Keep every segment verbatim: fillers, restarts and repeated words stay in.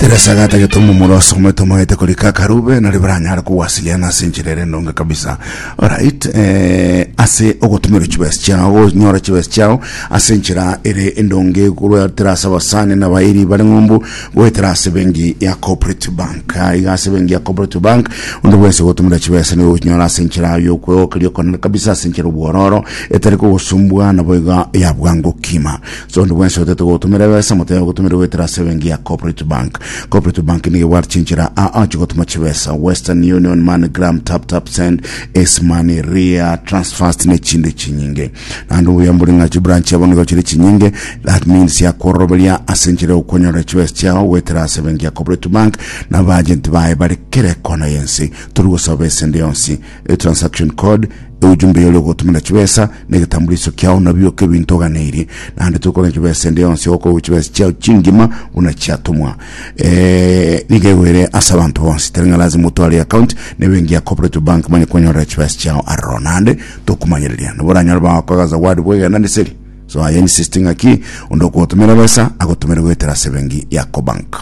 Teresa gatagete omomura osomete omanyete korika akarube nari baranyare kowasiliana ase enchera ere endonge kabisa. Alright, eh, ase ogotumera chibesa chiao, gonyora chibesa chiao ase enchera ere endonge goetera ase abasani na abairi bare ng'umbu goetera ase benki ya Cooperative Bank. Ah, iga ase benki ya Cooperative Bank onde bwensi ogotumera chibesa nigo ogochinyora ase enchera yokwegokeria okonene kabisa ase enchera obwororo etari kogosumbua nabo iga ya bwango kima. So onde bwensi otete gotumera ebesa motebe ogotumera goetera ase ebenki ya Cooperative Bank. Cooperative Bank nigo ebwate chinchera aa chigotuma chibesa Western Union, MoneyGram, Tap Tap Send, Ace Money, Ria, Transfast ne chinde chinyinge. Naende obuya mbore ng'a chibranch chiabo nigo chire chinyinge that means yakwororoberia ase enchera yokonyora chibesa chiao goetera ase ebenki ya Cooperative Bank na abaagenti baye bare kera ekona y'ense. Tori gosaba esende yonsi, e transaction code, ujumbe yori ogotumera chibesa na egetambuliso kiao nabio ebinto oganeirie naende tokogenda chibesa ende yonsi okoigwa chibesa chiao chingima buna chiatumwa eh, nigo egoere ase abanto bonsi tari ng'a lazima otware account na ebenki ya Cooperative Bank manye kwenyorera chibesa chiao aroro naende tokomanyereria nabo oranyore bagokoa zawadi bwegenda neseri so aye insisting ng'aki onde okogotumera besa agotumere goetera ase ebenki ya Cobank.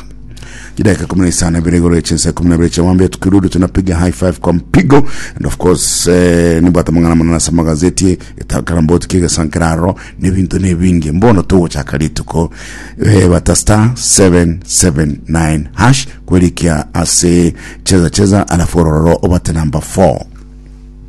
Dakika kumi na isano ibere igoro chinsa kumi na ibere chia tukirudi tunapiga high five kwa mpigo and of course eh, nibwate mang'ana manene ase magazeti etakaramboti kigesankeraro n'ebinto n'ebingi mbono togochaka rituko eh, bata star seven seven nine hash kwerikia ase cheza cheza alafu ororo obate number four.